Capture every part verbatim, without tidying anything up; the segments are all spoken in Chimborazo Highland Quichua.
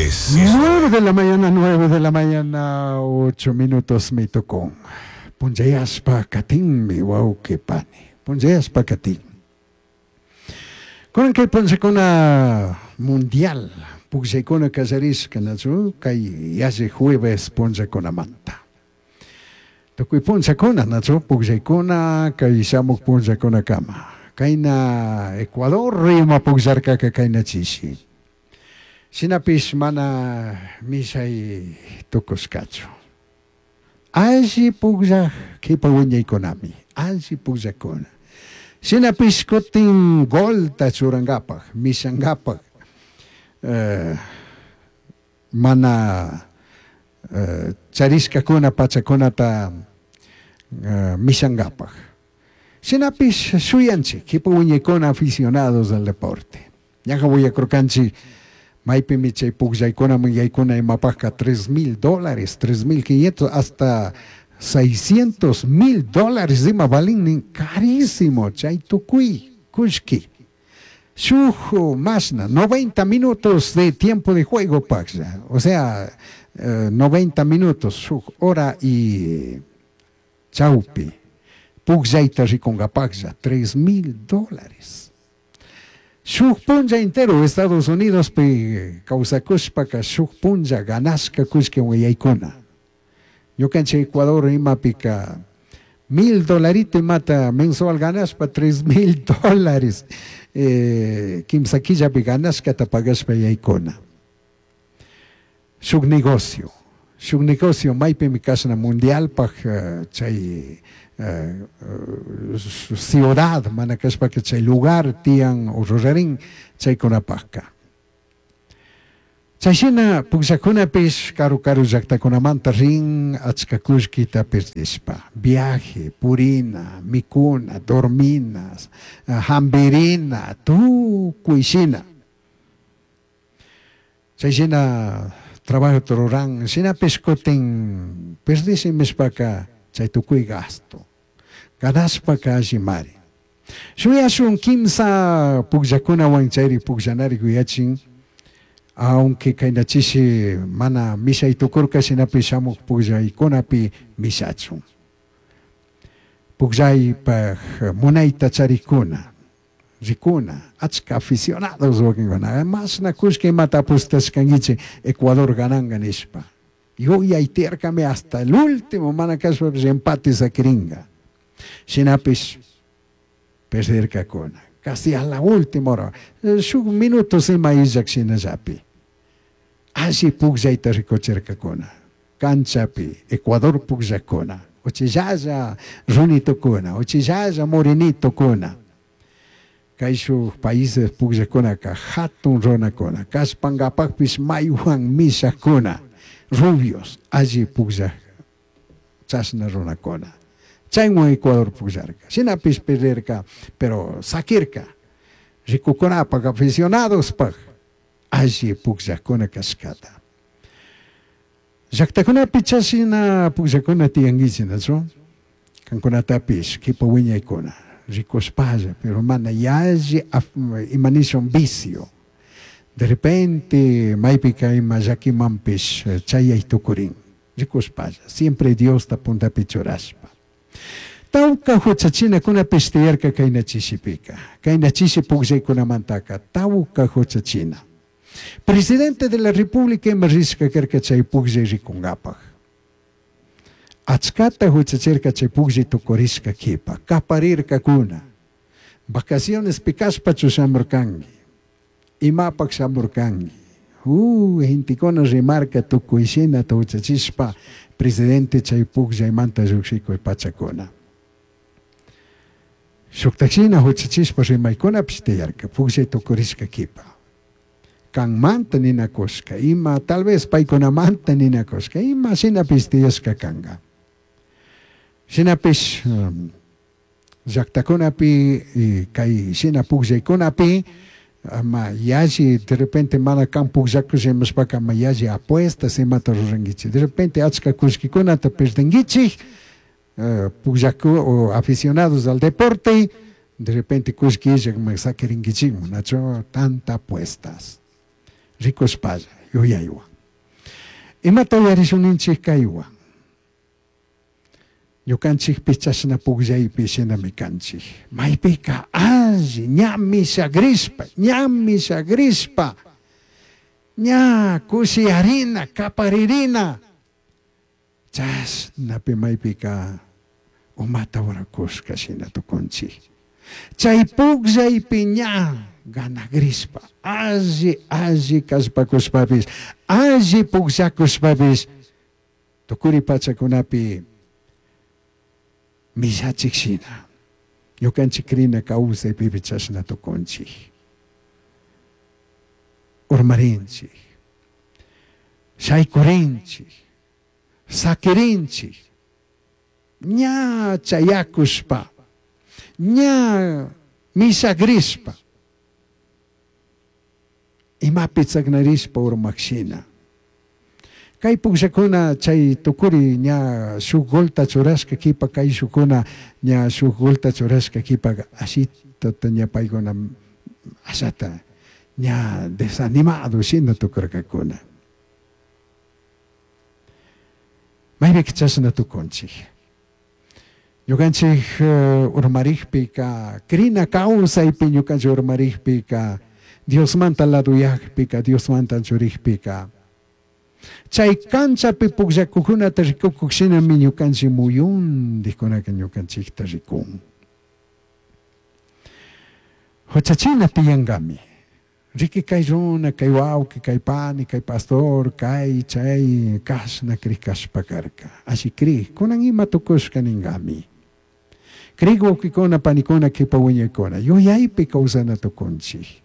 es. Nueve de la mañana, nueve de la mañana, ocho minutos me tocó. Punchayashpa katinmi wawqi pani. Punchayashpa katin. Kunan kay punchakuna mundial pukllaykuna kallarishka, nachu kay yalli jueves punchakunamanta. Tukuy punchakuna, nachu pukllaykuna kay shamuk punchakunakama. Kayna Ecuador ima pukllarkaka kayna chishi. Shinapish mana mishay tukushkachu. Alli pukllak kipa wiñaykunami, alli pukllakuna. Shinapish kutin golta churankapak, mishankapak, eh, mana eh, charishkakuna pachakunata eh, mishankapak. Shinapish shuyanchik, kipa wiñaykuna aficionados al deporte. Ñaja willakurkanchik maypimi chay pukllaykuna yaykuna imapajka tres mil dólares, tres mil quinientos, hasta seiscientos mil dólares ima valin, carísimo, chay tukuy kullki. Shuk masna, noventa minutos de tiempo de juego paxa, o sea, eh, noventa minutos, shuk hora y chaupi, pukllayta rikunkapaklla, tres mil dólares. Shuk punlla entero Estados Unidos pi kawsakushpaka shuk punlla ganashka kullki wayaykuna. Ñukanchik Ecuador imapika mil dolarito imata mensual ganashpa tres mil dólares, eh, kimsa killapi ganashkata pagashpa yaykuna. Shuk negocio, shuk negocio maypimi kashna mundialpaj, eh, chay, eh, eh, ciudad mana kashpaka chay lugar tiyan o rurarin chaykunapajka. Chayshina pukllakunapish karu karu llaktakunamanta rin achka kullkita perdishpa, viaje, purina, mikuna, dormina, hambirina, tukuy shina. Chayshina trabajo ruran, shinapish kutin perdishimishpaka chay tukuy gasto. Ganashpaka allimari. Shuyashun kimsa pukllakunawan chayri pukllanari yuyachin, aunque kaynachishi mana mishay tukurka, shinapish shamuk pukllaykunapi mishachun. Pukllaypaj munayta charikuna, rikuna, achka aficionados wakinkuna, mashna kullki imata apostashkankichik Ecuador gananga nishpa. Yuyay tiyarkami hasta el último mana kashpapish empate sakiringa. Shinapish perderkakuna, casi a la última hora, shuk minutos ima illak shinallapi. Alli pukllayta rikuchirkakuna, canchapi Ecuador pukllakuna, uchillalla runitokuna, uchillalla morenitokuna. Kay shuk países pukllakunaka hatun runakuna, kashpankapakpish maywan mishakuna, rubios, alli pukllak chashna runakuna. Chaywan Ecuador pukllarka, shinapish perderka, pero sakirka, rikukunapak, aficionadospaj, alli pukllakuna kashkata. Llaktakunapi chashina pukllakuna tiyankichik, nachu? Kankunatapish, kipa wiñaykuna, rikushpalla, pero mana yalli imanishun vicio. De repente, maypika ima llakimanpish chayay tukurin, rikushpalla, siempre Diosta puntapi churashpa. Tawka huchachinakunapish tiyarka kayna chishipika, kayna chishi pukllaykunamantaka, tawka huchachina. Presidente de la República ima rishka karka chay pukllay rikunkapak. Achkata huchachirka chay pukllay tukurishka kipa, kaparirkakuna. Vacaciones pikashpachu shamurkanki, imapak shamurkanki. Uh, gentekuna rimarka tukuy shinata huchachishpa presidente chay pukllaymanta llukshikuy pachakuna. Shuktakshina huchachishpa rimaykunapish tiyarka, pukllay tukurishka kipa. Kanmanta ninakushka, ima tal vez paykunamanta ninakushka, ima shinapish tiyashka kanka. Shinapish, um, llaktakunapi, kay shina pukllaykunapi, ama yalli de repente mana kan pukllakush imashpaka ama yalli apuestas imata rurankichik. De repente achka kullkikunata perdinkichik, eh, pukllaku o aficionados al deporte, de repente kullki illak sakirinkichikman, nachu tanta apuestas. Rikushpalla, yuyaywan. Imata uyarishun kaywan. Ñukanchikpi chashna pukllaypi shinami kanchik. Maypika alli ña mishagrishpa, ña mishagrishpa, ña kushiyarina, kaparirina. Chashnapi maypika umata urakushka shina tukunchik. Chay pukllaypi ña ganagrishpa, alli alli kallpakushpapis, alli pukllakushpapis, tukuri pachakunapi mishachik shina. Ñukanchik krina kawsaypipi chashna tukunchik. Urmarinchik, shaykurinchik, sakirinchik, ña chayakushpa, ña mishagrishpa, imapi chaknarishpa urmakshina. Kay pukllakuna chay tukuri ña shuk golta churashka kipa kayshukuna ña shuk golta churashka kipa ashitata ña paykuna ashata ña desanimado shina tukurkakuna. Maypika chashna tukunchik. Ñukanchik urmarikpika, krina kawsaypi ñukanchik urmarikpika, Diosmanta laduyakpika, Diosmanta churikpika. Chay kanchapi pukllakukunata rikukuk shinami ñukanchik muyundikunaka ñukanchikta rikun. Huchachina tiyankami. Riki kay runa, kay wawqi, kay pani, kay pastor, kay chay kashna krikashpa karka. Alli krik, kunan ima tukushka ninkami. Krik wawqikuna, panikuna, kipa wiñaykuna, yuyaypi kawsana tukunchik.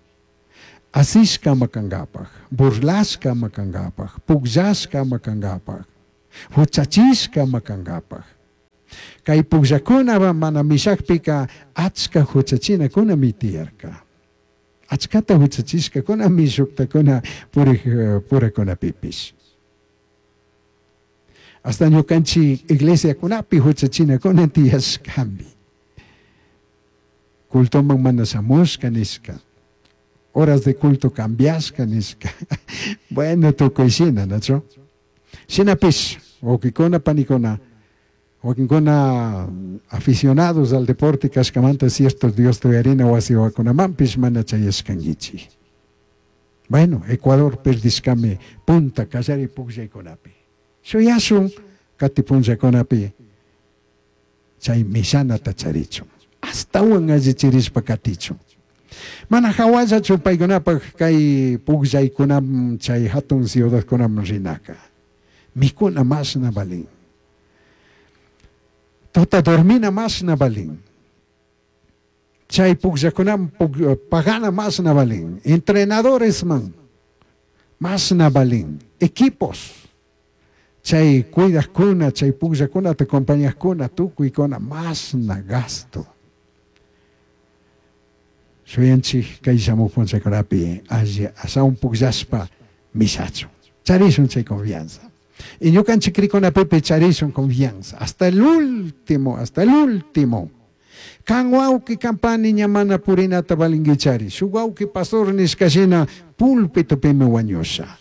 Asishka ama kankapaj, burlashka ama kankapaj, pukllashka ama kankapaj, huchachishka ama kankapaj. Kay pukllakuna mana mishakpika achka huchachinakunami tiyarka. Achkata huchachishkakunami shuktakuna purik purakunapipish. Hasta ñukanchik iglesiakunapi huchachinakuna tiyashkami. Cultoman mana shamushka nishka. Horas de culto cambiashka nishka. Bueno, tukuy shina, ¿nacho? Shinapish, wawkikuna, panikuna, wakinkuna aficionados al deporte kashkamanta cierto Dios tuyarina wasiwakunamanpish mana chayashkankichik. Bueno, Ecuador perdishkami punta kallari pukllaykunapi. Shuyashun kati punllakunapi chay mishanata charichun. Astawan allichirishpa katichun. Mana hawallachu paykunapaj kay pukllaykunam chay hatun ciudadkunam rinaka. Mikuna mashna valin. Tuta dormina mashna valin. Chay pukllakunam pagana mashna valin. Entrenadores man mashna valin. Equipos. Chay cuidajkuna, chay pukllakunata acompañajkuna, tukuykuna mashna gasto. Shuyanchik kay shamuq punchakunapi alli ashawan pukllashpa mishachun. Charishun chay confianza. Y ñukanchik krikunapipi charishun confianza. Hasta el último, hasta el último. Kan wawqi kan pani ña mana purinata valinkichari. Shuk wawqi pastor nishkashina pulpitopimi wañusha.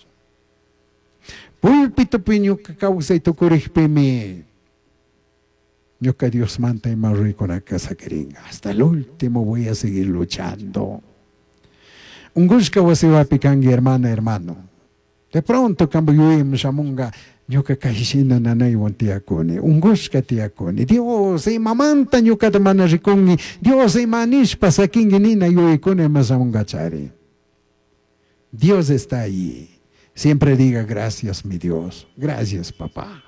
Pulpitopi ñuka kawsay tukurikpimi ñuka Diosmanta ima ruykunaka sakirinka. Hasta el último voy a seguir luchando. Ungushka wasiwapi kanki hermana, hermano. De pronto kanpa yuyayman shamunga ñuka kayshina nanaywan tiyakuni, ungushka tiyakuni. Dios imamanta ñukata mana rikunki, Dios ima nishpa sakinki nina yuyaykuna ima shamunkachari. Dios está ahí. Siempre diga gracias mi Dios, gracias papá.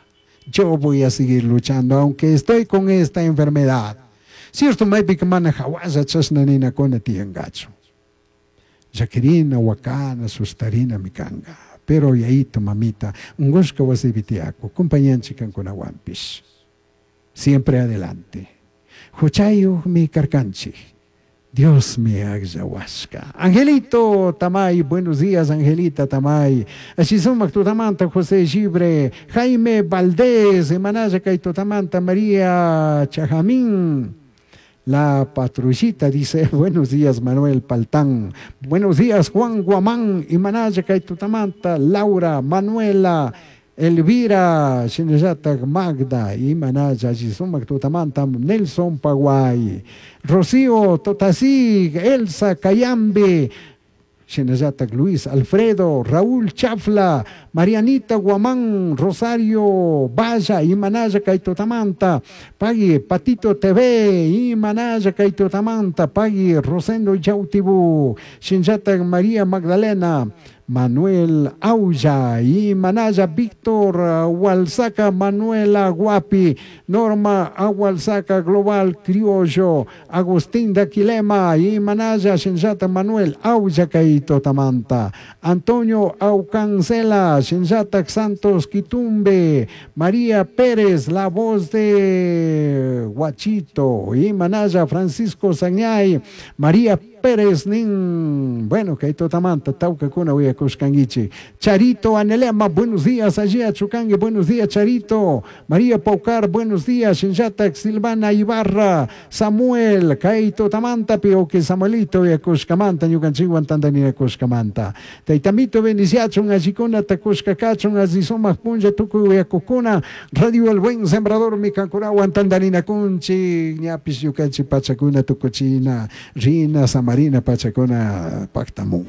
Yo voy a seguir luchando aunque estoy con esta enfermedad. Cierto maypika mana hawalla chashna ninakuna tiyankachu. Llakirina, wakana, sustarina mikanga. Pero yayito, mamita, ungushka wasipi tiyaku, compañanchik kankunawanpish. Siempre adelante. Huchayuqmi karkanchik. Dios me akllawashka. Angelito Tamay, buenos días Angelita Tamay. Ashisumak tutamanta José Gibre, Jaime Valdés, Emanaya kay tutamanta María Chajamín. La Patrullita dice, buenos días Manuel Paltán, buenos días Juan Guamán, Imanaya Kaitutamanta, Laura, Manuela, Elvira, shinallatak Magda, Imanaya, Sumak tutamanta, Nelson Paguay, Rocío Totasig, Elsa Cayambe, shinallatak Luis Alfredo, Raúl Chafla, Marianita Guamán, Rosario Valla, Imanaya Kaitotamanta, Pagui Patito T V, Imanaya Kaitotamanta, Pagui Rosendo Yautibu, shinallatak María Magdalena, Manuel Aulla, Imanaya Víctor Hualzaca, Manuela Guapi, Norma Agualzaca, Global Criollo, Agustín Daquilema, Imanaya Shinjata Manuel Aulla Kaito Tamanta, Antonio Aucancela, Shinjata Santos Quitumbe, María Pérez, la voz de Guachito, Imanaya Francisco Sañay, María Pérez nin, bueno, Kaito Tamanta, Taucacuna, Uyacushcanguichi, Charito Anelema, buenos días, allí a Chucangue, buenos días, Charito, María Paucar, buenos días, Shinjata, Silvana Ibarra, Samuel, Kaito Tamanta, Pio que Samuelito, Uyacushcamanta, Ñucanchiguan, Tandanina Cushcamanta, Taitamito, Beniciachun, Achicuna, Tacushcacachun, Azizoma, Punja, Tucu, Uyacucuna, Radio El Buen Sembrador, Micancurahuan, Tandanina Cunchi, Ñapis, Yucanchi, Pachacuna, Tucuchina, Rina, Samarina, Pachacuna, Pactamun.